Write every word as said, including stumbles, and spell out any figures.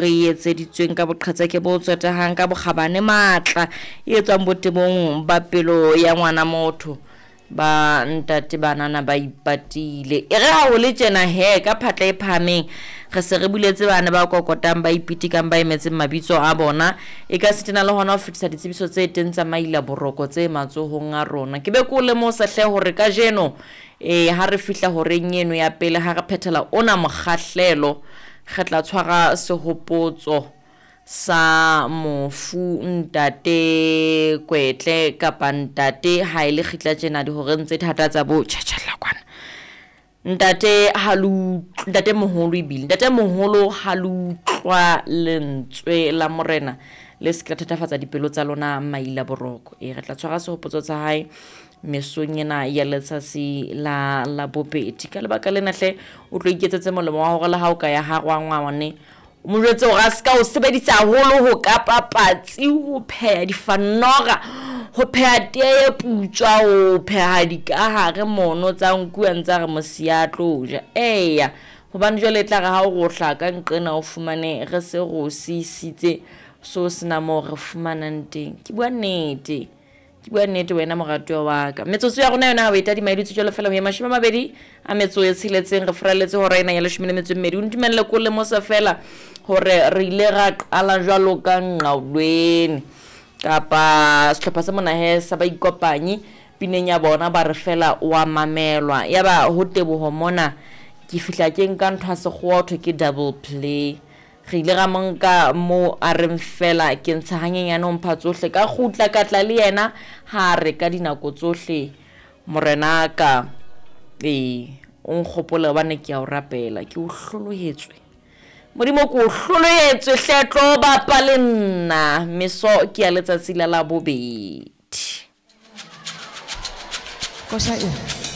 Re etseditsweng ka boqhetseke bo tsotehang, ka bokgabane, matla e etswang botebong ba pelo ya ngwana motho. Ba ntate banana ba ipatile. E re ha ho le tjena he, ka phatla e phahameng re se re buletse bana ba kokotang, ba ipitikang, ba emetseng mabitso a bona. E ka sitana le hona ho fetisa ditsebiso tse teng tsa maila boroko tse matsohong a rona. Ke be ke o lemosa hle hore kajeno eh ha re fihla horeng eno ya pele, ha re phethela ona mokgahlelo, re tla tshwara sehopotso sa mofu ntate Kwetle kapa ntate ha e le kgitla tjena dihoreng tse thata tsa bo tjhatjhalla kwana. Ntate ha le utlw-, ntate moholo ebile, ntate moholo ha le utlwa lentswe la morena le se ke la thatafatsa dipelo tsa lona maila boroko. E re tla tshwara sehopotso sa hae mesong ena ya letsatsi la la bobedi. Ka lebaka lena hle o tlo iketsetse molemo wa hore le ha o ka ya ha rangwane, o mo jwetse hore a ska o sebedisa haholo ho kapa patsi, ho pheha difanora, ho pheha teye e putswa, ho pheha dikahare mono tsa nku a ntsa re mosia a tlo ja. Eya, hobane jwale e tla re ha o rohla ka nqena o fumane re se re o siisitse, so sena moo re fumanang teng. Ke bua nnete, ke bua nnete wena moratuwa wa ka. Metsotso ya rona yona ha o e tadima e dutse jwalo fela ho ya mashome a mabedi a metso e tsheletseng, re furalletse hora ena ya leshome le metso e mmedi. O ntumelle ko lemosa fela hore re ile ra qala jwalo ka Nqaulweni kapa sehlopha sa mona he sa baikopanyi pineng ya bona ba re fela wa mamelwa. Ya ba ho teboho mona ke fihla ke nka ntho ya sekgowa ho thwe ke double play. Re ile ra mo nka moo a reng fela ke ntsha hanyenyane ho mpha tsohle, ka kgutla ka tla le yena ha re ka dinako tsohle morena ka ee o nkgopole hobane ke a o rapela, ke o hlolohetswe. Modimo ke o hlolohetswe hle, tlo bapa le nna. Meso ke ya letsatsi la Labobedi. Koša e.